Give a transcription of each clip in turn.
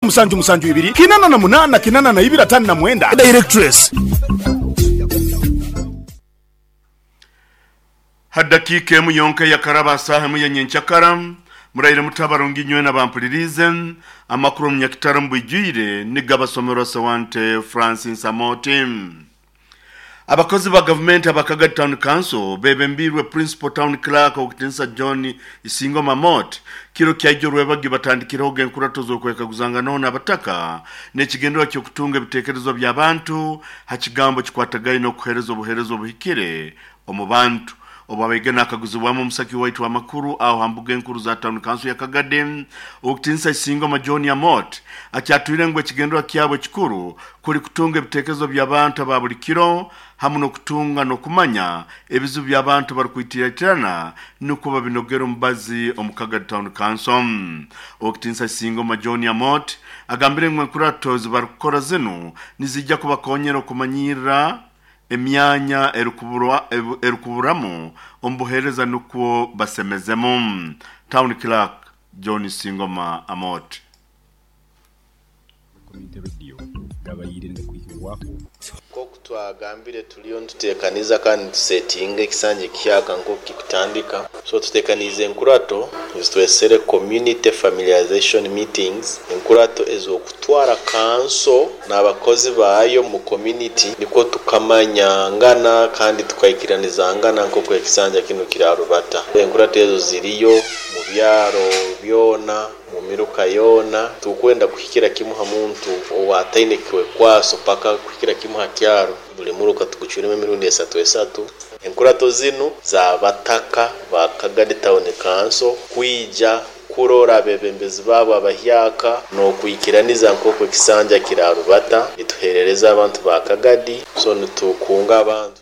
Musanju musanju ibiri kinana na munana kinana na ibiri atano na mwenda. Directress. Ha dakiika emu yonka eyakaraba ha saaha emu ya nyenkyakara, muraire muta abarungi inywena abampuliriize, amakuru omu Nyakitara omu bwijwire nigabasomerwa Sewante Francis Amooti. Abakozi ba gavumenti aba Kagadi Town Council bebembiirwe Principal Town Clerk Owekitiinisa John Isingo Mamot kiro kyaijo Rwebagyo batandikirehoga enkurato z'okwekaguzanganaho n'abataka n'ekigendererwa ky'okutunga ebitekerezo by'abantu ha kigambo kikwatagaine n'okuheereza obuheereza obuhikire omu bantu. Obu abaige nakaguzibwamu omusaki waitu w'amakuru aho ha mbuga enkuru za Town Council ya Kagadi, Owekitiinisa Isingoma John Amot akyatwire ngu ekigendererwa kyabo ekikuru kuli kutunga ebitekerezo by'abantu aba buli kiro hamu n'okutunga n'okumanya ebizibu by'abantu barukwitiratirana nukwo babinogere omubazi omu Kagadi Town Council. Owekitiinisa Isingoma John Amot agambire ngu enkurato ezibarukukora zinu nizija kubakonyera okumanyirra emyanya erukuburamu omu buheereza nukwo basemezemu. Town Clerk John Singoma Amot. Community Radio gabaire nigakwihibwaho. Nk'oku twagambire turiyo nituteekaniza kandi nitusetinga ekisanja ekihyaka nk'oku kikutandika. So tuteekaniize enkurato ezitwesere Community Familiarization Meetings, enkurato ez'okutwara kanso n'abakozi baayo mu community nikwo tukamanyangana kandi tukaikiranizangana nk'oku ekisanja kinu kirarubata. Enkurato ezo ziriyo mu byaro byona. Mu miruka yoona, titukwenda kuhikira kimu ha muntu ow'ataine kwekwaso paka kuhikira kimu ha kyaro. Buli muruka tugucwiremu emirundi esatu esatu. Enkurato zinu z'abataka ba Kagadi Town Council kwija kurora abebembezi baabo abahyaka n'okwikiraniza nk'oku ekisanja kirarubata. Nituherereza abantu ba Kagadi, so nitukunga abantu.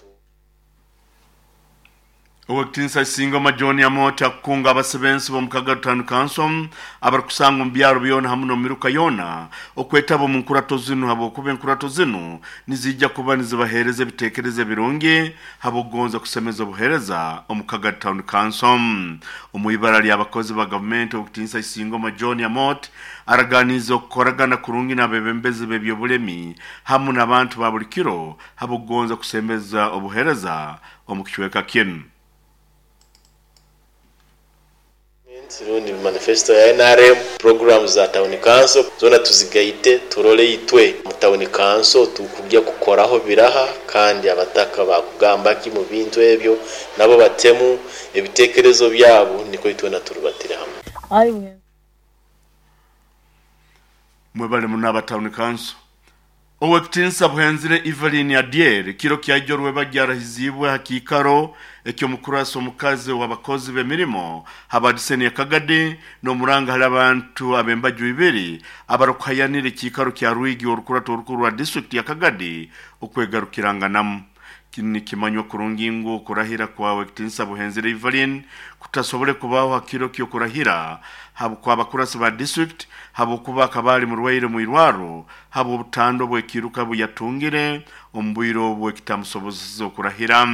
Ow'ekitiinisa Isingoma John Amooti akukunga abasibensi b'omu Kagadi Town Council abarukusangwa omu byaro byona hamu n'omu miruka yoona okwetaba omu nkurato zinu habwokuba enkurato zinu niziija kuba nizibaheereza ebiteekerezo ebirungi habw'okugonza kusemeza obuheereza omu Kagadi Town Council. Omu ibara ly'abakozi ba gavumenti Ow'ekitiinisa Isingoma John Amooti araganiize okukoragana kurungi n'abebembezi b'eby'obulemi hamu n'abantu ba buli kiro habw'okugonza kusemeza obuheereza omu kicweka kinu. Rundi manifesto ya nrm, puroguraamu za tawuni kanso zoona tuzigaite turole itwe mu tawuni kanso tukugya kukoraho biraha kandi abataka bakugamba ki mu bintu ebyo nabo batemu ebitekerezo byabo nikwo itwena turubatire hamwe. Mwebale muno aba Town Council. Owekitinisa Buhenzire Evelyn Adyeri kiro kyaijo Rwebagyo arahiziibwe ha kiikaro eky'omukurasi omukazi ow'abakozi b'emirimo ha diseni ya Kagadi n'omuranga hali abantu ab'embaju ibiri abarukuhayanira ekiikaro kya Rwigi orukurato orukuru rwa disitulikiti ya Kagadi okwegarukiranganamu. Nikimanywa kurungi ngu okurahira kwa Owekitinisa Buhenzire Evelyn kutasobole kubaho ha kiro ky'okurahira kw'abakurasi ba disitulikiti habwokuba akaba ali murwaire omu irwaro habw'obutando bw'ekiiruka buyatungire omu bwire obu ekitamusobozeseze okurahira.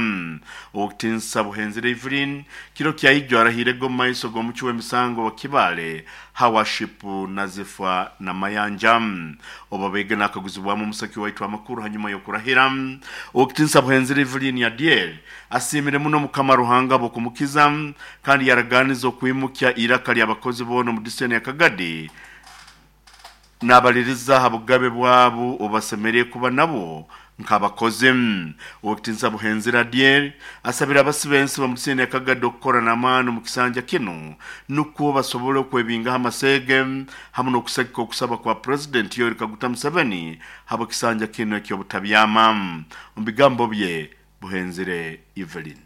Owekitinisa Buhenzire Evelyn kiro kyaijo arahirege omu maiso g'omucwi w'emisango wa Kibaale Her Worship Nazifa Namayanja. Obu abaige nakaguzibwamu omusaki waitu amakuru hanyuma y'okurahira, Owekitinisa Buhenzire Evelyn Adyeri asiimire muno Mukama Ruhanga habw'okumukiza kandi yaraganiza okwimukya iraka ly'abakozi boona omu diseni ya Kagadi nabaliriza ha bugabe bwabo obubasemeriire kuba nabwo nk'abakozi. Owekitinisa Buhenzire Adyeri asabire abasibensi b'omu diseni ya Kagadi okukora n'amaani omu kisanja kinu nukwo basobole okwebingaho amaseege hamu n'okusagika okusaba kwa Purezidenti Yoweri Kaguta Museveni habw'ekisanja kinu eky'obutabyama. Omu bigambo bye, Buhenzire Evelyn.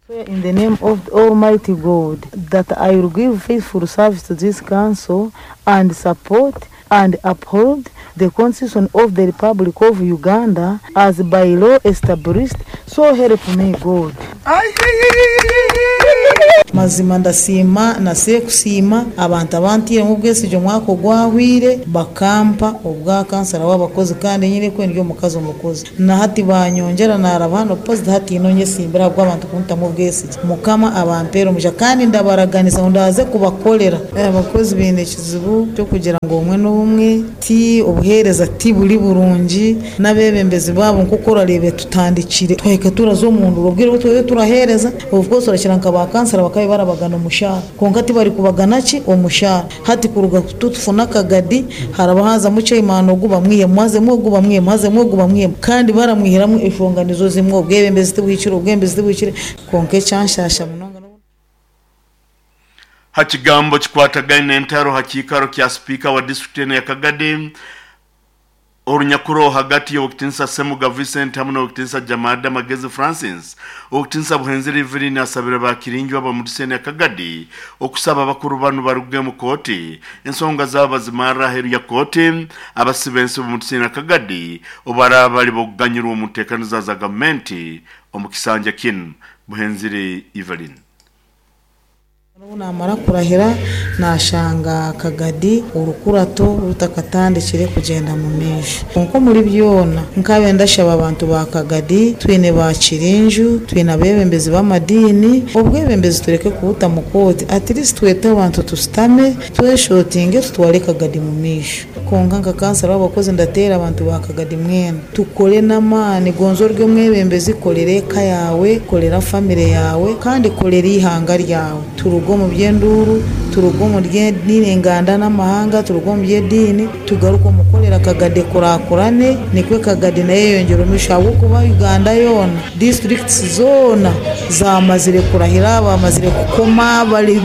Swear in the name of the Almighty God that I will give faithful service to this council and support and uphold the Constitution of the Republic of Uganda as by law established, so help me God. Mazima ndasiima na sekusiima abantu abantiiremu obwesigye omwaka ogwahwire bakampa obwa kansara w'abakozi kandi nyine kwe ndi omukazi omukozi. Na hati banyongyera naraba hano poziti hati ino nyesimbire ahabw'abantu kuntamu obwesigye. Mukama abampeere omugisha kandi ndabaraganisa ngu ndaze kubakorera. Abakozi baine ekizibu ky'okugira ngu obumwe n'obumwe ti obuheereza ti buri burungi n'abeebembezi baabo nk'oku orareebe tutandikire twahika turaza omu nduru obwire obu turiyo turaheereza of course orakira nka ba kansara bakabaire barabagana omushaara kwonka tibarikubagana ki omushaara. Hati kuruga tutufuna akagadi haraba hazamu chairman ogu bamwihemu hazemu ogu bamwihemu hazemu ogu bamwihemu kandi baramwihiramu enshonga nizo zimwe obwebembezi tibuhikire obwebembezi tibuhikire kwonka ekyanshasha munonga n'obu. Ha kigambo kikwatagaine n'entaro ha kiikaro kya sipiika wa disiturikiti enu eya Kagadi, Orunyakuro hagati y'Owekitinisa Ssemuga Vincent hamu n'Owekitinisa Jamada Magezi Francis, Owekitinisa Buhenzire Evelyn asabire ba Kirinju ab'omu diseni ya Kagadi okusaba abakuru banu baruge omu kooti ensonga zaabo bazimarre aheeru ya kooti abasibe ensi b'omu diseni ya Kagadi obubaraaba bali b'okuganyirwa omu nteekaniza za gavumenti omu kisanja kinu. Buhenzire Evelyn. Obu naamara kurahira, naashanga akagadi orukurato rutakatandikire kugyenda mu maisho. Kwonka omuri byona, nkaaba ndashaba abantu ba Kagadi, twine ba Kirinju, twine abeebembezi b'amadiini, obwebembezi tureke kubuta mu kooti, at least twete abantu tushutame, tweshotinge tutware Kagadi mu maisho. Kwonka nka kansara w'abakozi ndateera abantu ba Kagadi mwena tukore n'amaani gonza ori omwebembezi korera eka yaawe, korera famire yaawe kandi korera eihanga ryawe. Turuge omu by'enduuru, turuge omu by'ediini enganda n'amahanga, turuge omu by'ediini tugaruke omu kukorera Kagadi ekurakurane nikwo Kagadi nayo eyeyongyere omu maisho ahabw'okuba Uganda yoona, disiturikiti zoona zamazire kurahira, bamazire kukoma, bari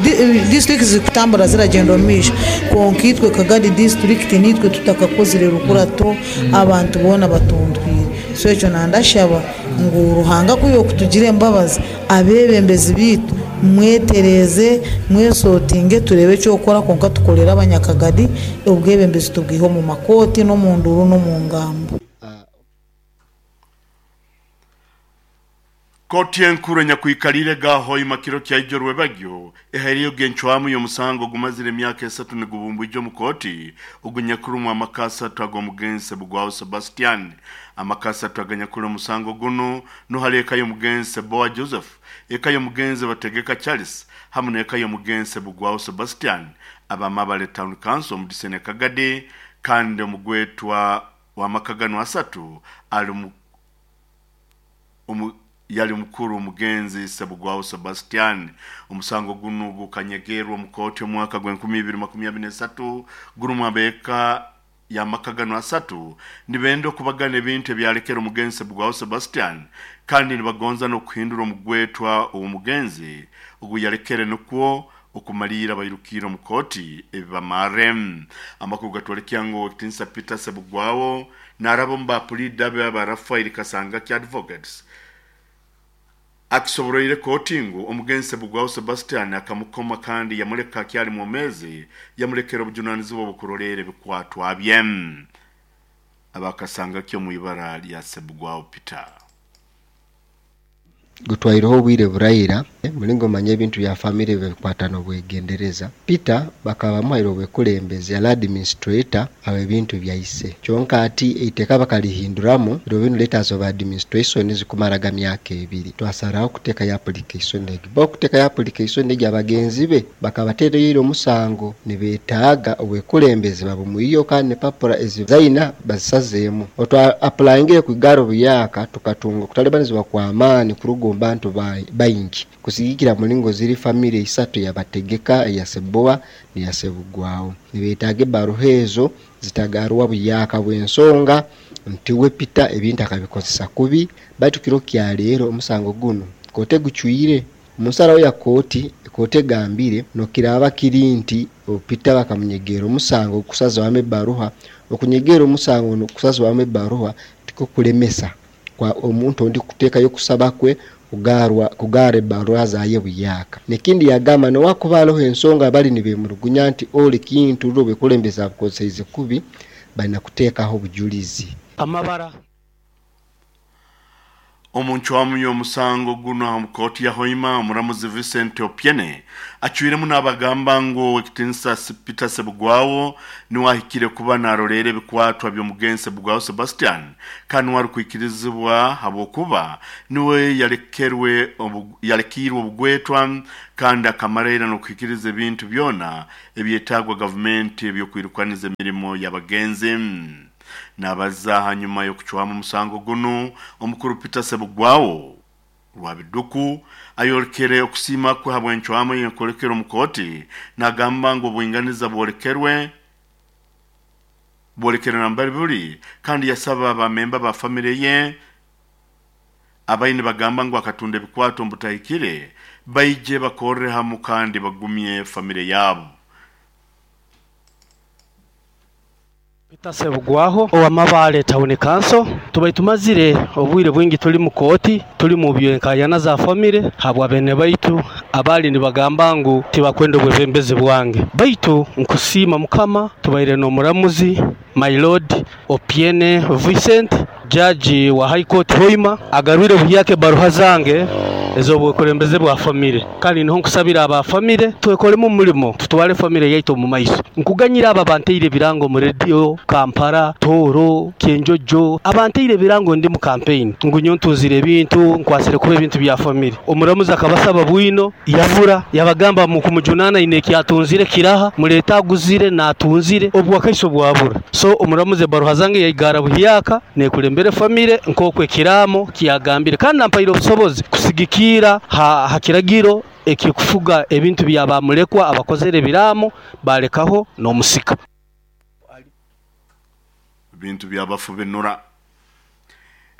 disiturikiti zirikutambura ziragyenda omu maisho kwonka itwe Kagadi disiturikiti niitwe tutakakozire rukurato abantu boona batuntwire. So ekyo nandashaba ngu Ruhanga ku yokutugira embabazi abeebembezi baitu mwetereeze, mwesootinge tureebe eky'okukora kwonka tukorere abanyakagadi obwebembezi tubwihe omu makooti n'omu nduuru n'omu ngambo. Kooti enkuru enyakwikaliire ga Hoima kiro kya ijo rwebagyo ehaireyo encwamu y'omusango ogumazire emyaka esatu nigubumbwija omu kooti ogunyakurumu amaka asatu ag'omugenzi Sebugwaho Sebastian. Amaka asatu aganyakuli omusango gunu nuho eka y'omugenzi Seboa Joseph, eka y'omugenzi Bategeka Charles hamu n'eka y'omugenzi Sebugwaho Sebastian aba Mabale Town Council omu diseni ya Kagadi kandi omugwetwa w'amaka ganu asatu ali yali mukuru omugenzi Sebugwaho Sebastian. Omusango gunu gukanyegerwa omu kooti omwaka gw'enkumi ibiri makumi abiri n'esatu gurumu abeeka y'amaka ganu asatu nibenda okubagana ebintu ebyalekera omugenzi Sebugwaho Sebastian kandi nibagonza n'okuhindura omugwetwa ow'omugenzi ogu yalekere nukwo okumaliira bairukiire omu kooti ebibamarre. Amakuru gatwolekya ngu Owekitinisa Peter Sebugwaho naaraba omu ba puliida be aba Raphael Kasangaki Advocates akisoboroire kooti ngu omugenzi Sebugwaho Sebastian akamukoma kandi yamuleka akyali mwomeezi yamulekera obujunanizibwa obw'okuroleera ebikwatwa bye. Aba Kasangaki omu ibara lya Sebugwaho Peter. Gutwaireho obwire buraira, mulingo omanya ebintu bya famire babikwata n'obwegendereza. Peter bakaba bamuhaire obwekulembezi yali administrator aw'ebintu byaise. Kyonka ati eiteeka bakalihinduramu, biro binu letters of administration zikumaraga myaka ebiri. Twasaraho kutekayo application egi. Bo okutekayo application egi abagenzi be bakabateereyo ira omusango nibetaaga obwekulembezi babumwiyo kandi n'epapura ezi zaina bazisazeemu. Otwa apulayingire kwigara obuyaka tukatunga okutalibanizibwa kw'amaani kuruga omu bantu baingi kusigikira mulingo ziri famire isatu eya Bategeka, eya Seboa n'eya Sebugwawo. Nibetaaga ebaruha ezo zitagarwa buyaka bw'ensonga nti we Peter ebintu akabikozesa kubi baitu kiro kya leero omusango gunu kooti egucwire. Omu nsaraho ya kooti, kooti egambire nokiraaba kiri nti Peter bakamunyegeera omusango ogukusazwamu ebaruha, okunyegeera omusango n'okusazwamu ebaruha tikwo kulemesa kwa omuntu ondi kuteekayo okusaba kwe kugarra ebaruha zaye buyaka. Nekindi yagamba nowakuba haroho ensonga bali nibemurugunya nti oli kintu ruli obwekulembezi abukozeseize kubi, balina kuteekaho obujulizi. Amabara. Omuncwamu y'omusango guno aha mukooti ya Hoima, omuramuzi Vincent Opiene acwiremu n'abagamba ngu ekitinisa Peter Sebugwawo niwe ahikire kuba naroleera ebikwatwa by'omugenzi Sebugwawo Sebastian, kandi niwe arikwikirizibwa habwokuba niwe yalekiirwe obugwetwa kandi akamara n'okuhikiriza ebintu byona ebyetaagwa gavumenti ebyokwirukaniza emirimo y'abagenzi. Nabaza hanyuma y'okucwamu omusango guno, omukuru Peter Sebugwawo Rwabiduku ayorekere okusiima kwe habw'encwamu yenkolekera omukooti, nagamba ngu obwinganiza bwolekerwe nambari buli, kandi yasaba abamemba ba famire ye abaine bagamba ngu akatunda ebikwato mbutahikire baije bakorre hamu kandi bagumye famire yabo. Peter Sebugwaho ow'Amabaale Town Council, tubaire tumazire obwire bwingi tuli mu kooti, tuli mu byenkayana za famire habwa bene baitu abali nibagamba ngu tibakwenda obwebembezi bwange. Baitu nkusiima Mukama, tubaire n'omuramuzi my lord Opiene Vincent, jaji wa High Court Hoima, agarwire buhyaka ebaruha zange ez'obwekulembeze bwa famire. Kandi niho nkusabira aba famire twekolemu omulimo tutwale famire yaitu omu maiso. Nkuganyira aba banteire ebirango mu radio Kampala, Tooro, Kyenjojo, abanteire ebirango ndi mu campaign ngu nyo ntunzire ebintu, nkwasire kuba ebintu bya famire. Omuramuzi akabasaba bwino yabura, yabagamba mu kumujunana ine ekyatunzire kiraha, muleta aguzire natunzire obwakaiso bwabura. So omuramuzi ebaruha zange yaigara buhyaka nekulembere famire nk'okwo ekiraamo kyagambire, kandi nampaire obusobozi kusigikira ha kiragiro ekikufuga ebintu bya bamulekwa abakozere ebiraamo balekaho n'omusika. Bintu byabafu binura.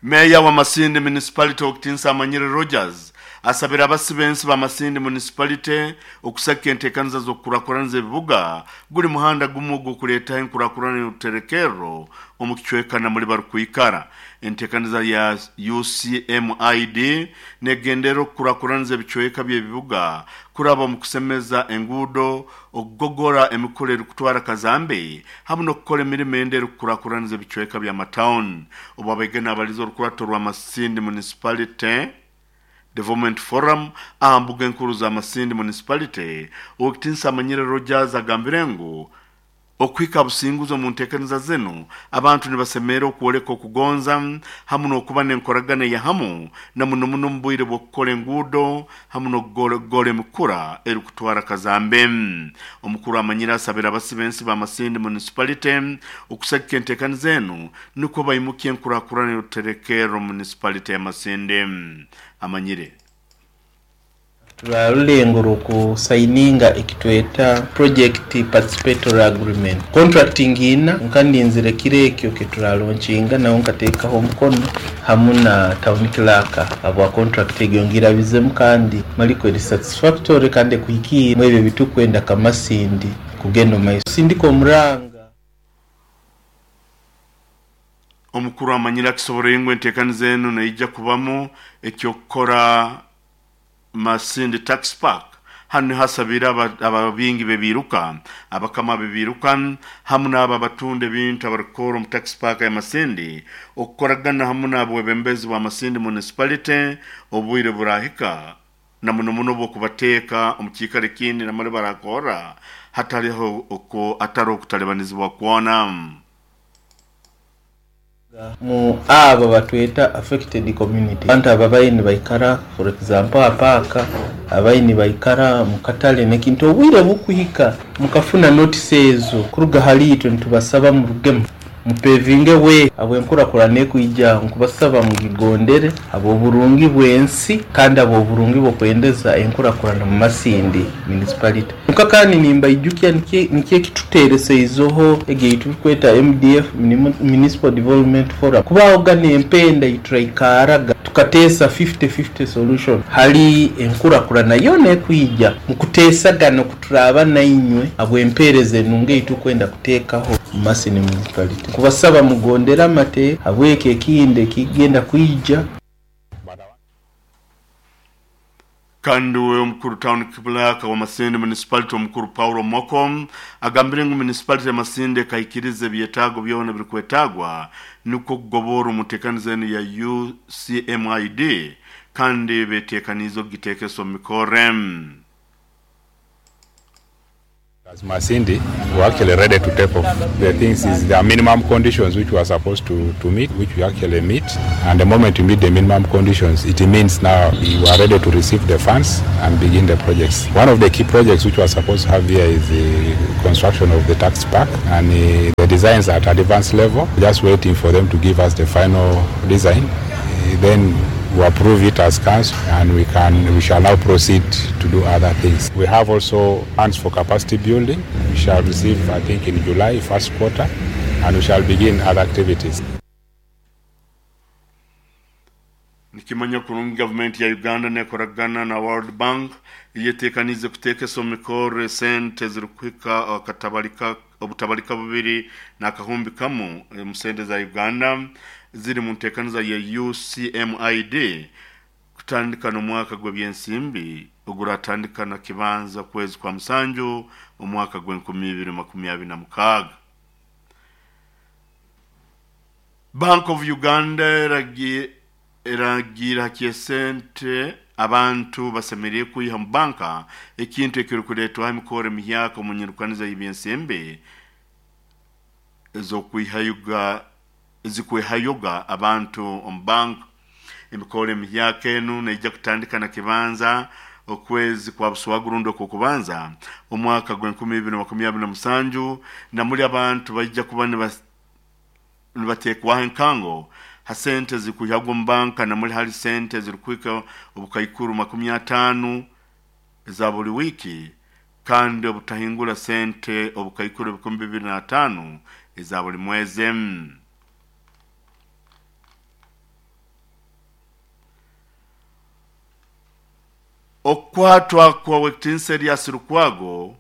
Meya wa Masindi Municipality Okitinsa Amanyire Rogers asabira abasibensi ba Masindi Municipality okusaka enteekaniza z'okukurakuraniza ebibuga guli muhanda gumu ogw'okuleetaho enkurakurana y'oruterekerro omu kicweka namuli barukwikara. Enteekaniza ya UCMID negendera okukurakuraniza ebicweka by'ebibuga kuraba omu kusemeza enguudo, okugogora emikura erikutwara kazambe hamu n'okukora emirimo endi erikukurakuraniza ebicweka by'amatawuni. Obu abaigana abaliza orukurato rwa Masindi Municipality Development Forum aha mbuga enkuru za Masindi Municipality, Owekitinsa Amanyire Rogers agambire ngu okuhika businguzi omu nteekaniza zinu abantu nibasemerera okwoleka okugonza hamu n'okuba n'enkoragana ya hamu na muno muno omu bwire bw'okukora enguudo hamu n'okugora emikura erikutwara kazambe. Omukuru Amanyire asabira abasibensi ba Masindi Municipality okusagika enteekaniza enu nukwo baimukye enkurakurana y'oruterekerro municipality ya Masindi. Amanyire Turarulengo rw'okusaininga ekitweta project participatory agreement contracting ina nkandinzire kiro ekyo keturalonkinga naho nkateekaho omukono hamu na town clerk abwa contract egyo ngirabizemu kandi maliko eri satisfactory kandi ekuhikiire mwebyo bitukwenda kamasindi kugenda omumaiso sindika omuranga. Omukuru Amanyire akisoboreye ngu enteekaniza enu neija kubamu ekyokukora Masindi Tax Park. Hanu niho hasabire ababingi bebiruka, abakama bebiruka hamu n'abo abatunda ebintu abarikukora omu Tax Park ya Masindi okukoragana hamu n'abwebembezi bwa Masindi Municipality obwire burahika na muno muno obw'okubateeka omu kiikaro ekindi namale barakora hatariho atari okutalibanizibwa kwona. Mu abo batweta affected community, abantu abo abaine baikara for example apaka, abaine baikara mu katale nekintu obwire bukuhika mukafuna notice ezo kuruga hali itwe nitubasaba murugemu mupevinge we abwenkurakurana ekuija nkubasaba mugigondere ab'oburungi bw'ensi kandi ab'oburungi bw'okwendeza enkurakurana mu Masindi Municipality. Nka kandi nimbaijukya nikyo ekituteereseizeho egyo tukweta MDF Municipal Development Forum kubaho gana empenda ituraikaraga tukateesa 50-50 solution hali enkurakurana yona ekuija mukuteesagana okuturaba nainywe abwempeereza enungi eitukwenda kuteekaho mu Masindi Municipality. Kubasaba mugondere amate habwekyo ekindi ekigenda kwija. Kandi we omukuru town clerk wa Masindi municipality omukuru Paulo Moko agambire ngu municipality ya Masindi ekaikiriza ebyetaago byona ebirikwetaagwa nukwo kugobora omuteekaniza enu ya UCMID kandi beteekaniize okugiteekesa omu mikorre. As Masindi, we're actually ready to take off. The things is there are minimum conditions which we are supposed to meet, which we actually meet. And the moment we meet the minimum conditions, it means now we are ready to receive the funds and begin the projects. One of the key projects which we are supposed to have here is the construction of the tax park, and the designs are at advanced level, just waiting for them to give us the final design. Then we approve it as council, and we shall now proceed to do other things. We have also funds for capacity building. We shall receive, I think, in July, first quarter, and we shall begin other activities. Nikimanya kurungi gavumenti ya Uganda nekoragana na World Bank eyetekanize kuteekesa omu mikorre sente zirikuhika akatabalika obutabalika bubiri n'akahumbi kamu mu sente za Uganda ziri mu nteekaniza ya UCMID kutandika n'omwaka gw'ebyensimbi oguratandika na kibanza kwezi kwa musanju omwaka gw'enkumi ibiri makumi abiri na mukaaga. Bank of Uganda eragira kyesente abantu basemereye kwiha mu banka ekintu ekirikuleetwaho emikoro emihyaka omu nyirukaniza y'ebyensimbi ezikwihayoga abantu omu banka. Emikoro emihyaka enu neija kutandika na kibanza okwezi kwa buswagurundo okukubanza omwaka gw'enkumi ibiri makumi abiri na musanju, na muli abantu baija kuba nibateekwaho enkango ha sente zikuhyagwa omu banka, na muli hali sente zirikuhika obukaikuru 50 za buli wiki, kandi obutahingura sente obukaikuru 2005 eza buli mwezi. Okwatwa kwa Wektinsa Erias Lukwago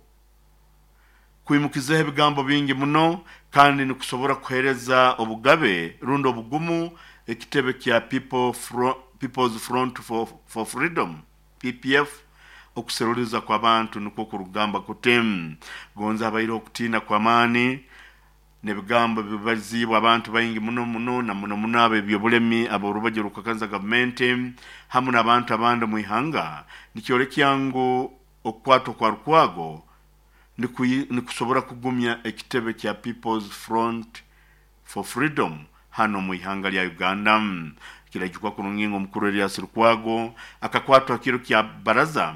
kwimukizeho ebigambo bingi muno kandi nikusobora kuhereza obugabe rundi obugumu ekitebe kya People's Front for Freedom PPF okuseruliza kwa bantu nukwo kurugamba kutem gonza abaire okutiina kwa maani n'ebigambo bibazibwa abantu baingi muno muno na muno muno abebyobulemi aborubaje rukakanza gavumenti hamu n'abantu abandi mu ihanga. Nikyolekya ngu okukwatwa kwa Lukwago nikusobora kugumya ekitebe kya People's Front for Freedom hano mu ihanga lya Uganda. Kirajukwa kurungingo omukuru Erias Lukwago akakwatwa kiro kya baraza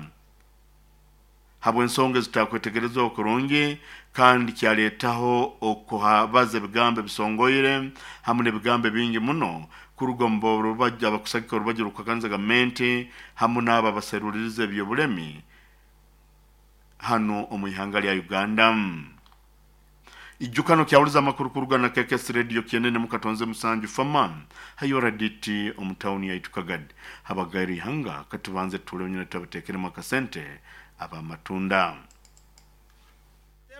habw'ensonga zitakwetegerezwa okurungi, kandi kyaleetaho okuhabaza ebigambo ebisongoire hamu n'ebigambo bingi muno kuruga mu rubajja abakusagika orubajja rukakanza gavumenti hamu n'abo abaseruliriza ebyobulemi hano omu ihanga lya Uganda. Ijukano kyawuliza amakuru kuruga na KKS Radio kienene mukatonze musanju fama hayo raditi omu tawuni ya Itukagad habagairi ihanga katubanze tule nyina tabatekeremu akasente abamatunda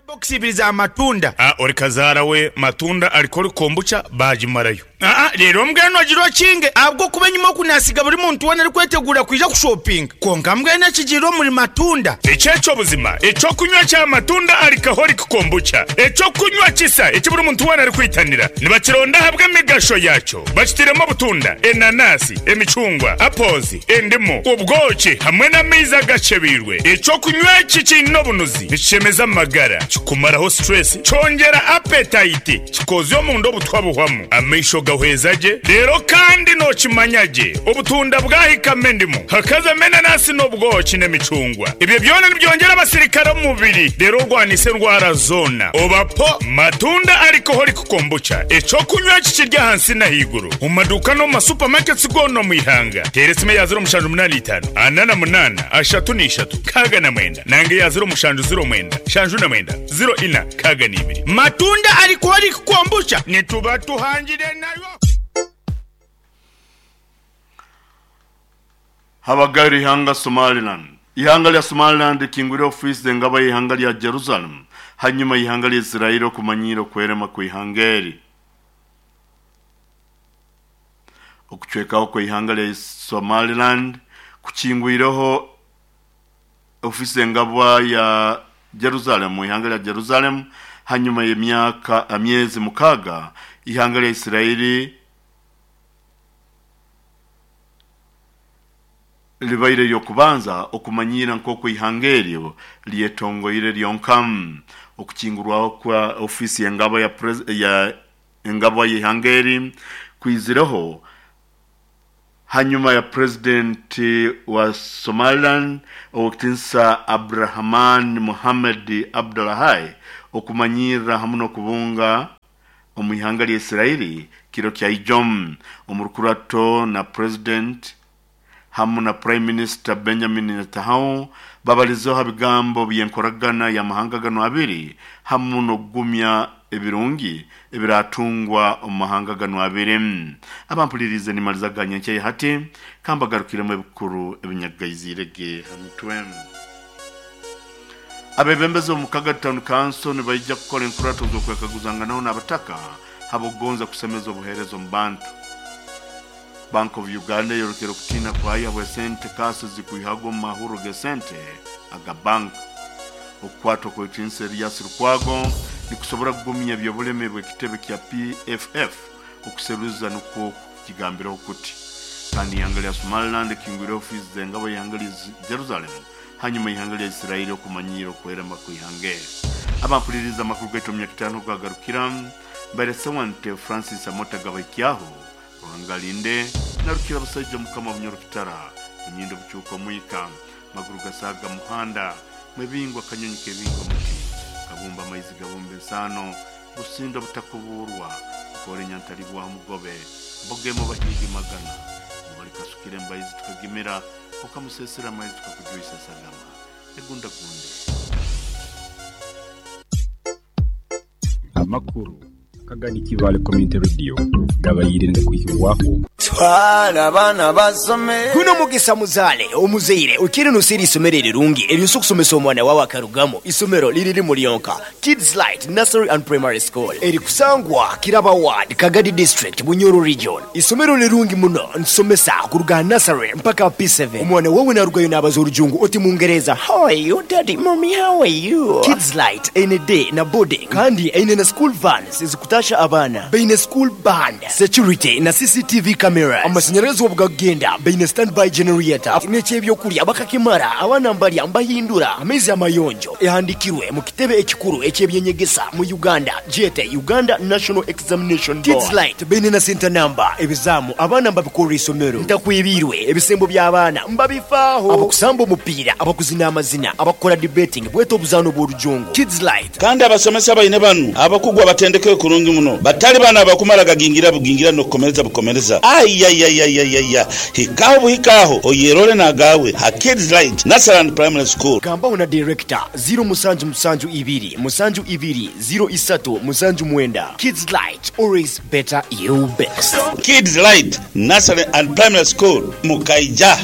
box ibiri za matunda. Ori kazara we matunda alikori kombucha bajimarayo. Rero mbwenu agiro kinge abwo kuba nyuma kunasiga buri muntu wona ari kwetegura kuja kushopping konka mbwenu akigiro muri matunda. Echecho buzima echo kunywa cha matunda alikahori kombucha echo kunywa kisa eki buri muntu wona ari kwitanira nibakironda habwe emigasho yacho bakitiremo butunda enanasi emicungwa apozi endimu ubwoki hamwe n'amaizi agacebirwe. Echo kunywa iki kino bunuzi nikishemeza amagara kikumaraho stress cyongera appetite kikoze omundu obutwa buhwamu amaisho gahwezaje. Rero kandi nokimanyage obutunda bwahikame endimu hakaza menanasi n'obwoki n'emicungwa ibyo byona nibyongera abasirikare mu mubiri. Rero rwanise ndwara zona obapo matunda alcoholic kombucha echo kunywa kikirya hansi na higuru mu maduka no mu supermarkets gono mu ihanga. Teresime ya 0785 48 33 69 nange ya 0709 79 04 62. Matunda alcoholic kombucha nituba tuhangire nayo. Habagari ihanga Somaliland. Ihanga lya Somaliland kingwire office engaba ihanga lya Jerusalem hanyuma ihanga lya Israel okumanyira okwerema ku ihangeri. Okuchwekaho kwa ihanga lya Somaliland kuchingwireho ofisi engabwa ya Jerusalem, ihanga lya Jerusalem hanyuma y'emyaka amyezi 6 ihanga lya Israeli libaire lyokubanza okumanyira nk'oku ihanga eryo lyetongoire lyonka. Okukingurwaho kwa ofisi engabo ya engabo y'ihanga eri kwizireho hanyuma ya president wa Somaliland Owekitinsa Abrahaman Mohamed Abdullahi okumanyira hamwe n'okubunga omu ihanga lya Israeli kiro kya ijom. Omurukurato na president hamwe na Prime Minister Benjamin Netanyahu babalizeho bigambo by'enkoragana ya mahanga gano abiri hamwe n'okugumya ebirungi ebiratungwa omu mahanga gano abiri. Abampulirize nimalizaganya nkye hati kambagarukiremu ebikuru ebinyagaizirege hamutwe. Abebembezi omu Kaga Town Council nibaija kukora enkurato z'okwekaguzanganaho n'abataka habogonza kusemeza obuheereza omu bantu. Bank of Uganda yorokera okutina kwayo habw'esente kasi zikuihagwa omu mahuro g'esente aga bank. Okukwatwa kw'ekinsa Erias Lukwago nikusobora kugumya eby'obulemi bw'ekitebe kya PFF okuseruza nukwo kukigambiraho kuti. Kandi ihanga lya Somaliland ekingwire ofiisi z'engabo y'ihanga lya Jerusalem hanyuma ihanga lya Israeli okumanyira okwerema kw'ihanga eri. Abampuliriza amakuru gaitu omu myaka 5 gagarukira mbaire Sewante Francis Amota Gabaikyaho Ruhangalinde narukira abasajja mukama Bunyorokitara munyindo bucuuka omwika maguru gasaga muhanda mwebingwa kanyonyi kebingwa muti kabumba amaizi gabumba ensaano busindo butakuburwa nkore nyantalibwaho mugobe mbogemo bahiigi magana mubalikasukire mbaizi tukagimira okamusesera amaizi tukakujwisa esagama egundagunde. Amakuru Kagadi Kibaale Community Radio gabaire nigakwihibwaho. Twala abaana basome. Guno mugisa muzaale omuzaire okiire noseera eisomero erirungi eryosa okusomesa omwana wawe akarugamu. Isomero liri limu lyonka, Kids Light Nursery and Primary School erikusangwa Kiraba Ward, Kagadi District, Bunyoro Region. Isomero lirungi muno nitusomesa kuruga aha nursery mpaka aha P7. Omwana wawe narugayo nabaza orujungu oti mungereza, How are you daddy, mummy how are you? Kids Light eine day na boarding kandi eine na school vans ezikutasha abaana. Baine school band, security na CCTV cameras. Amasanyarazi obugakugenda baine standby generator n'eky'ebyokulya bakakimara abaana mbalya mbahindura amaizi amayonjo. Ehandikirwe mu kitebe ekikuru eky'ebyenyegesa mu Uganda gyete Uganda National Examination Board. Kids Light baine na center number, ebizaamu abaana mbabikorera isomero. Ntakwibiirwe, ebisembo by'abaana mbabifaaho. Abakusamba omupiira, abakuzina amazina, abakukora debating bwete obuzaano bw'orujungu. Kids Light. Kandi abasomesa baine banu abakugu abatendekeirwe kurungi muno, batali bano abakumala gagingira bugingira n'okukomereza bukomereza. Ayayayayaya! Hikaho buhika agho oyerole n'agaawe ha Kids Light Nursery and Primary School. Gambaho na Director, ziro musanju musanju ibiri musanju ibiri ziro isatu musanju mwenda. Kids Light, always better you best. Kids Light Nursery and Primary School mu Kaija.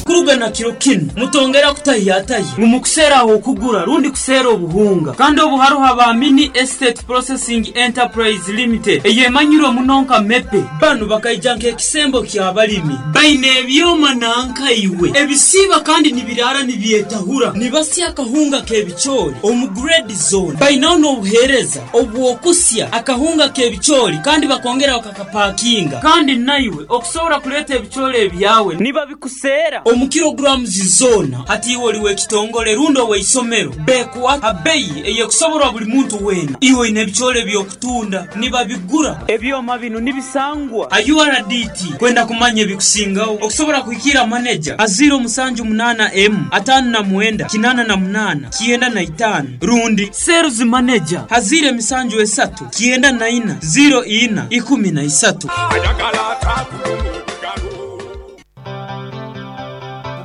Kuruga na kiro kinu, mutongera kutahiyatahya ngu mukuseera ah'okugura rundi kuseera obuhunga. Kandi obu haroho aba Mini Estate Processing Enterprise Limited eyemanyirwe muno nka MEPE. Banu bakaija nk'ekisembo ky'abalimi. Baine ebyoma nanka iwe ebisiiba kandi nibiraara nibyetahura. Nibasya akahunga k'ebicoori omu grade zoona. Bainaho n'obuheereza obw'okusya akahunga k'ebicoori kandi bakongera bakakapakinga. Kandi naiwe okusobora kuleeta ebicoori ebyawe nibabikuseera omu kilograms zoona. Hati iwe oli w'ekitongole rundi ow'eisomero, bekuha ha beyi ey'ekusoborwa buli muntu weena. Iwe oine ebicoori eby'okutunda, nibabigura. Ebyoma binu nibisangwa ha URDT. Kwenda kumanya ebikusingaho, okusobora kuhikiira maneja ha ziiro musanju munaana emu ataano na mwenda kinaana na munaana kyenda na itaano rundi sales manager ha ziiro emisanju esatu kyenda na ina ziiro ina ikumi na isatu.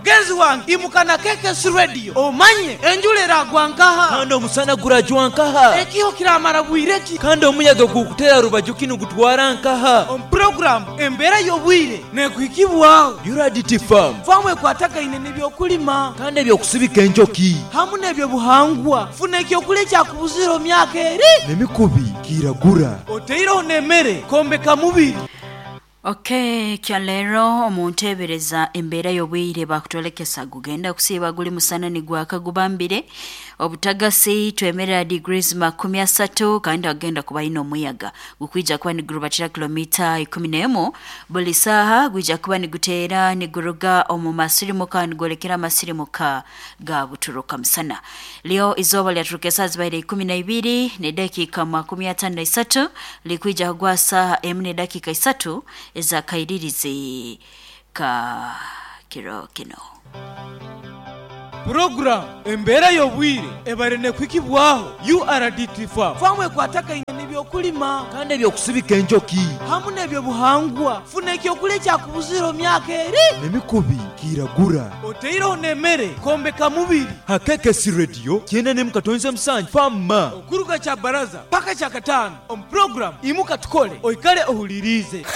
Mugenzi wange imuka na KKS Radio omanye enjura eragwa nkaha. Kandi omusana gurajwa nkaha. Ekiho kiramara bwire ki. Kandi omuyaga gukutera rubaju ki nigutwara nkaha. Omu puroguramu Embeera y'obwire nekuhikibwaho. URDT Farm. Faamu ekwatagaine n'ebyokulima. Kandi eby'okusibika enjoki. Hamu n'ebyobuhangwa. Funa ekyokulya ekyakubuzire omu myaka eri. N'emikubi kiragura. Oteireho n'emere kwombeka mubiri. Okay, kyaleero omunteebereza embeera y'obwire bakutolekesa gugenda kusiiba guli musana nigwaka gubambire obutagasi twemerera degrees 30 kandi agenda kuba ino omuyaga gukwija kuba nigurubatira kilomita 11 buli saaha gwija kuba niguteera niguruga omu masirimuka nigwolekera amasirimuka ga buturuka musana. Leo izooba lyaturuka esaaha zibaire 12 n'edakiika 53 likwija kugwa saaha 1 n'edakiika 3 ezakairirizi ka kiro kino. Puroguramu embeera y'obwire ebare n'ekuhikibwaho URDT Farm. Faamu ekwatakaine n'ebyokulima kandi ebyokusibika enjoki hamu n'ebyobuhangwa. Funa ekyokulya ekyakubuzire omu myaka eri n'emikubi kiiragura. Oteireho n'emere kwombeka mubiri. Ha KKC Radio 97.7 Fama. Okuruga Kyabaraza paka Kyakataano omu puroguramu Imuka Tukole oikale ohuliriize.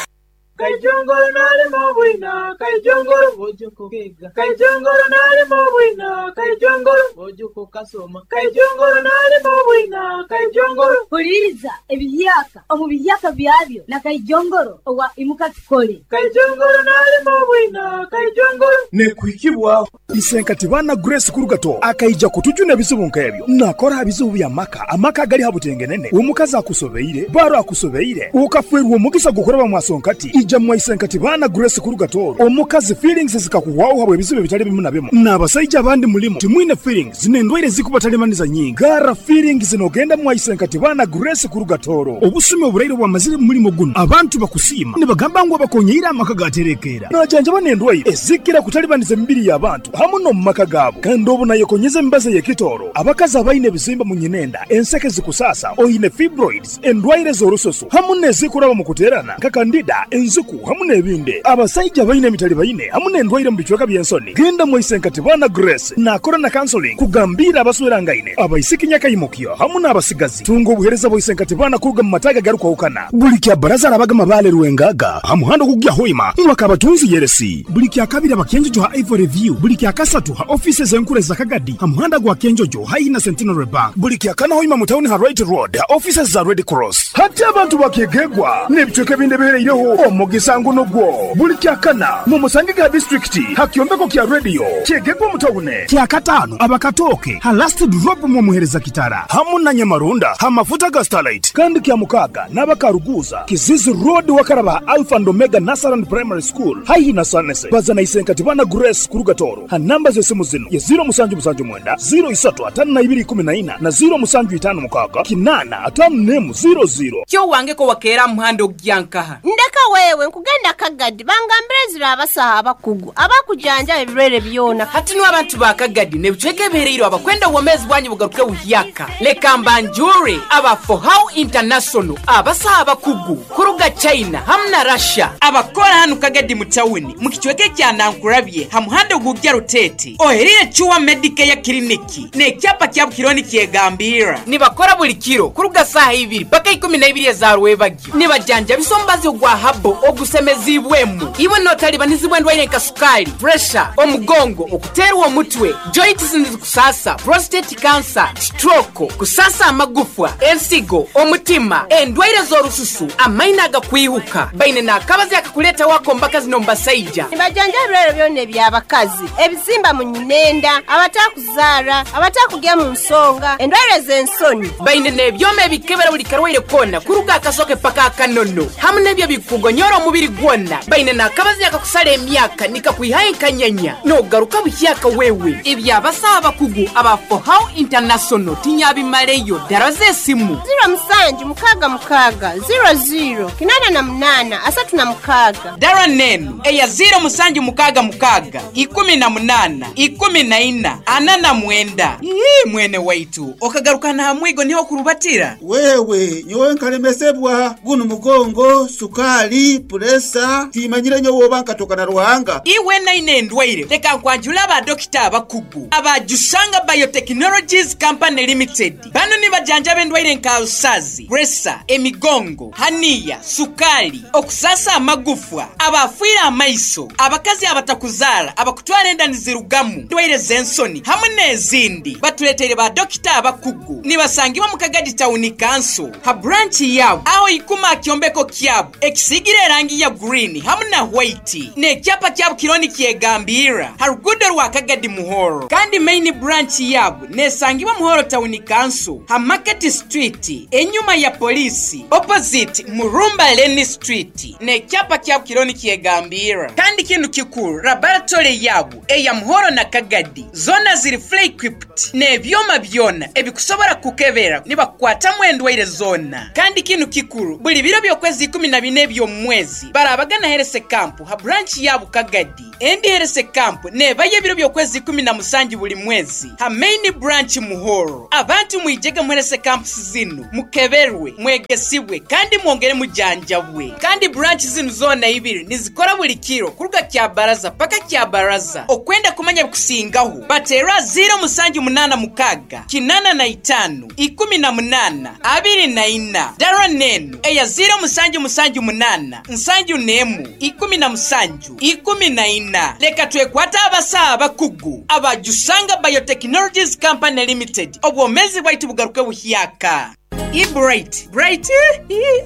Kaijongoro nalima obwina, kaijongoro ojoko kega. Kaijongoro nalima obwina, kaijongoro ojoko kasoma. Kaijongoro nalima obwina, kaijongoro. Huliriza ebiyaka omu biyaka byabyo na kaijongoro owa Imuka Tukole. Kaijongoro nalima obwina, kaijongoro. Nekuhikibwa isenkati bana Grace Kurugato akaija kutujuna ebizibu nk'ebyo nakora bizibu bya maka amaka gali habutengenene omukazi akusobeire baro akusobeire ukafwerwa omugisa gukoraba mwasonkati ija mwaisenkati bana Grace Kurugato omukazi feelings zikakuwawo habwe ebizibu bitali bimu na bimu n'abasajja abandi mulimu timwine feelings zinendwaire zikubatalimaniza nyingi gara feelings zinogenda mwaisenkati bana Grace Kurugatoro obusumi oburaire bwamazire mulimo guno abantu bakusiima nibagamba ngu abakonyeire amaka gaterekera najanja banendwaire ezikira kutalibaniza emibiri y'abantu hamu no mumaka gaabo kandi obu nayekonyeza emibazi y'ekitoro abakazi abaine ebizimba mu nyinenda enseke zikusasa oine fibroids endwaire z'orusoso hamu n'ezikuraba mu kuterana nka kandida enzuku hamu n'ebindi abasajja baine emitali baine hamu n'endwaire mu bicweka by'ensoni genda mwaisenkati bana Grace nakora na counseling kugambira abaswerangaine abaisiki nyakayimukyo hamu n'abasigazi tunga obuhereza bwaisenkati bana kuruga mu mataga garukwahukana buli kya baraza arabaga mabale rwengaga hamuhando kugya hoima mwakabatunzi yeresi buli kya kabiri abakenjojo ha Ivory View buli kya kasatu ha offices enkure za Kagadi ha muhanda gwa Kenjojo haina Centenary Bank buli kya kana hoima mu town ha Right Road ha offices za Red Cross hati abantu bakegegwa n'ebicweka ebindi ebihereireho omugisa nguno gwo buli kya kana mu musange ga district ha kyombeko kya radio kyegegwa mu tawune kya katano abakatoke ha last drop mu muhereza kitara hamu na Nyamarunda ha mafuta ga Starlight kandi kya mukaga n'abakaruguza Kizizi Road wakaraba Alpha and Omega Nasaran Primary School haihi na Sanese bazana isenkati bana Grace Kurugatoro ha namba z'esimu zino ye 0779 035214 na 0756 8 00. Kyo wange ko wakeera muhando ogyankaha ndeka wewe nkugenda Kagadi bangambire zira abasaha abakugu abakujanja ebirwere byona hati niwe abantu ba Kagadi nebicweka ebihereirwe abakwenda obwomezi bwanyu bugaruke buhyaka leka mbanjure aba For How International abasaha abakugu kuruga China hamu na Russia abakora hanu Kagadi mu tawuni mu kicweka kya Nankurabye ha muhando gugya Rutete oherire Chuwa Medicare Clinic n'ekyapa kya Bukironi kyegambira nibakora buli kiro kuruga saha 2 paka 12 za rwebagyo nibajanja bisombazi ogwa habo ogusemezibwemu iwe notalibanizibwa endwaire nka sukali pressure omugongo okuterwa omutwe joints kusasa prostate cancer stroke kusasa amagufwa ensigo omutima endwaire z'orususu amaina agakwihuka baine n'akabazi akakuleta wako mbaka zino mbasaija nibajanja ebirwere byona eby'abakazi ebizimba mu nyinenda abatakuzara abatakugya mu nsonga endwaire z'ensoni baine n'ebyoma ebikebera buli karwaire kona kuruga akasoke paka akanono hamu n'ebyo bikugonyora omubiri gwona baine n'akabazi akakusala emyaka nikakwihayo enkanyanya n'ogaruka buhyaka wewe ebyabasaha abakugu aba For How International tinyabimaleyo ddala z'esimu 0766 00 88 36 dara nenu eya 0766 18 14 49. Ii mwene waitu okagarukana hamwigo niho kurubatira wewe nyowe nkalemesebwa guno mugongo sukali puresa timanyire nyowe oba nkatoka na Ruhanga iwe naine endwaire leka nkwanjula abadokita abakugu abajushanga Biotechnologies Company Limited bano nibajanjaba endwaire nka usazi presa emigongo haniya sukali okusasa amagufwa abafiira amaiso abakazi abatakuzara abakutwara enda nizirugamu ndwaire z'ensoni hamwe n'ezindi batuleteire ba dokita abakugu nibasangibwa mu Kagadi Town Council ha branch yabo aho ikuma kyombeko kyabo ekisigire erangi ya green hamu na white n'ekyapa kyabo kiriho nikyegambirra ha ruguudo rwa Kagadi Muhoro. Kandi main branch yabo nesangibwa Muhoro Town Council ha Market Street enyuma ya polisi opposite Murumba Lane Street n'ekyapa kyabo kiriho nikyegambirra. Kandi kinu kikuru, laboratory yabo eya Muhoro na Kagadi zona ziri fully equipped n'ebyoma byona ebikusobora kukebera nibakukwatamu endwaire zona. Kandi kinu kikuru, buli biro by'okwezi 14 eby'omu mwezi barabagana health camp ha branch yabo Kagadi. Endi health camp nebayo ebiro by'okwezi 17 buli mwezi ha main branch Muhoro. Abantu mwijege mu health camps zinu, mukeberwe, mwegesibwe kandi mwongere mujanjabwe. Kandi branch zinu zona ibiri nizikora buli kiro kuruga kya baraza paka kya baraza. Okwenda kumanya bikusingaho batera 0786 85 18 24. Dara nenu eya 0778 71 17 14. Leka twekwata abasaha abakugu abajusanga Biotechnologies Company Limited, obwomezi bwaitu bugaruke buhyaka. Bright Bright,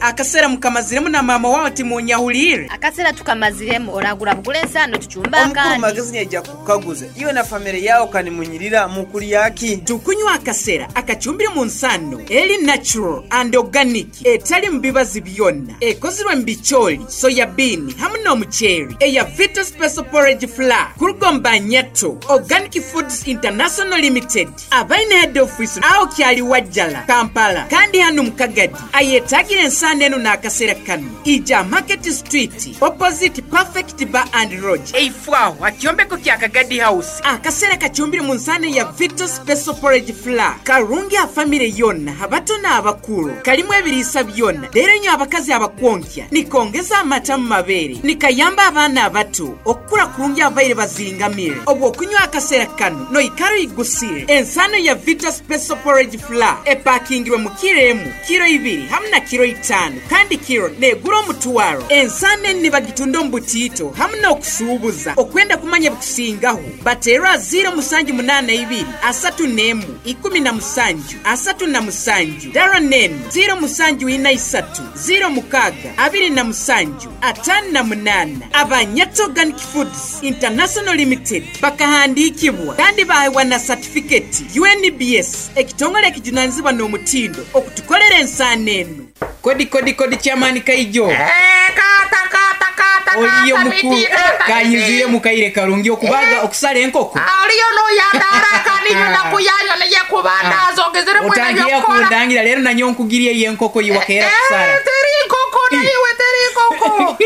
akasera mukamaziremu na mama wawe timunyahulire. Akasera tukamaziremu, oragura bugule ensano tucumba. Omukuru. Akandi magezi nyaija kukaguza iwe na family yawo kanimunyirira mukulyaki. Tukunywa akasera akacumbire mu nsano eri natural and organic, etali mu bibazi byonna, ekozirwe mu bicholi, soya bean hamu n'omuceeri, eya Vita Special Porridge Flour kuruga Nyato Organic Foods International Limited, abaine head office aho kyali Wajjala, Kampala. Kandi hano mukagadi ayetagira ensano eno n'akasera kano, ija Market Street opposite Perfect Bar and Lodge, eifwaho akyombeko kya Kagadi House. Akasera kacumbire mu nsano ya Vita Special Porridge Flour karungi a family yonna, abato n'abakuru. Kalimu ebiriisa byonna, leero nyo abakazi abakwonkya, nikongeza amata mu mabeere, nikayamba abaana abato okukura kurungi abaire bazingamire. Obwo okunywa akasera kano noikara oyigusire. Ensano ya Vita Special Porridge Flour epakingirwe mu kiro 1, kiro 2 hamu na kiro 5, kandi kiro negura 500. Ensano eni nibagitunda omu butiito hamu n'okusuubuza. Okwenda kumanya bikusingaho baterwa 0782 31 17 37. Dara nenu 0743 06 27 58. Abanyato Organic Foods International Limited bakahandikibwa kandi bahewa na certificate UNBS, ekitongole ekijunanizibwa n'omutindo okutukolera ensano eno. Kodi kodi kodi, chairman Kaijo. Kata kata kata. Oliyo kata, mukuru. miti, kata, Kanyuzire mukaire karungi okubaga okusala enkoko. Oliyo noyandaraka ninyo nakuyanyo niye kubandaza ogezere mwena Otangiye byokora. kundangira rero nanyo nkugiriye yenkoko yiwakeera kusara. Teri inkoko naiwe, teri inkoko.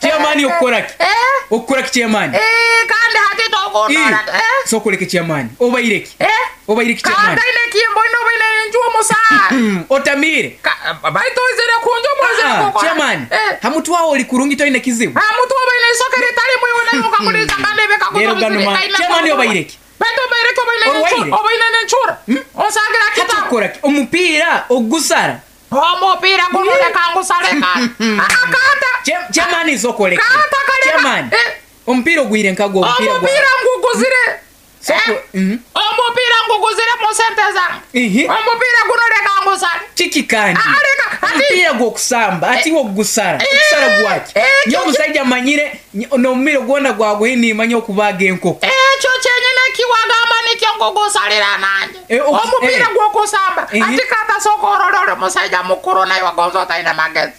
Chairman, okukoraki? Okukoraki, chairman? Kandi hati tokundora. Sokoleke, chairman, obaireki? Obaireki, chairman? Kata ine kimbo ino baine enju omusaa. Otamire. Baito izire kunju mwezire kukora. Chairman, hamutwawo oli kurungi, toine kizibu. Hamutu obaine isokere tali mwiwe nayo kakuliza kandi Rero ganuma chairman, obaireki? Baito obaireki, obaine Orwaire? nenchura, obaine nenchura. Osangira Hati kita. okukoraki omupiira ogusara? Omupiira gunuleka ngusale kata. Akata. Chairman, sokoleke. Kata kaleka. Chairman, omupiira ogwire nkagwo omupiira gwa Omupiira nguguzire. Soko. Omupiira nguguzire mu sente zange. Omupiira gunuleka ngusale. Kiki kandi? Aleka ati Omupiira gw'okusamba ati wogusara, okusara gwaki? Nyo omusajja amanyire n'omumiro gwona gwaguhe nimanya okubaga enkoko. Ekyo kyenyine kiwagamba nikyo ngugusalira nanje. Omupiira gw'okusamba. Ati kata sokorora oli musajja mukuru naye wagonza otalina magezi.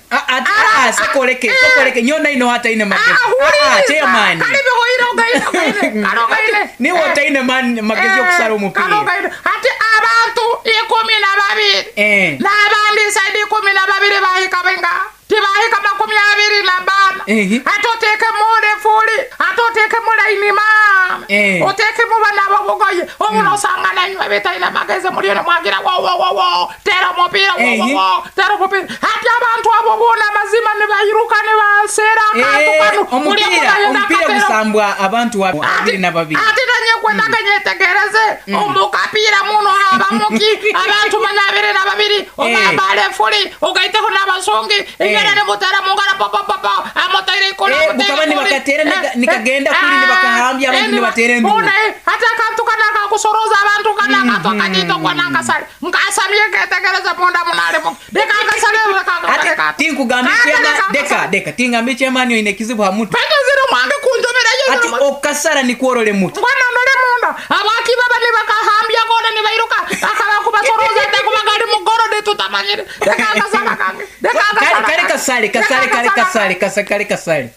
Sokoleke, sokoleke, nyo naino hataine magezi. Huliriza. Chairman. Kale bihoire ogaine ogaine. Kale ogaine. Niwe otaine magezi okusara omupiira. Kale ogaine. Ati abantu 12. N'abandi side 12 bahika benga. Tibahika 24. Ate oteekemu olefuli, ate oteekemu layini maama. Oteekemu bana ababugoye. Obuno osanga nanywe betalina magezi muliyo ne mwagira wo wo wo wo. Tera omupiira wo wo wo. Tera omupiira. Ati abantu abo boona amazima ne bayiruka ne baseera akantu kano. Buli omu Omupiira nayenda omupiira akatera. gusambwa abantu 22. Ate nanye kwendaga nyetegereze omukapiira muno habamuki abantu 22 ogamba alefuli ogaiteho n'abasungi ingana nemutera mungara popopopo amotaire ikulu. Bukaba nibakateera nikagenda kuli nibakahambya abantu nibateera enduru. Ate akantu kana kakusoroza abantu kana katwa kajito kwana nkasale nkasamye ketegereza munda munalimo deka nkasale deka Tinkugambye chema deka deka tingambye chemani oine kizibu ha mutwe. Pete ziri mwange kunjomera Ati okasara nikworole mutwe. Ngwana ndole munda abaki baba nibakahambya kona nibairuka akaba kubasoroza ndekubagali mugoro nitutamanyire deka nkasala kange deka Kale nkasala kale kasale kasale kale kasale kasale kale kasale.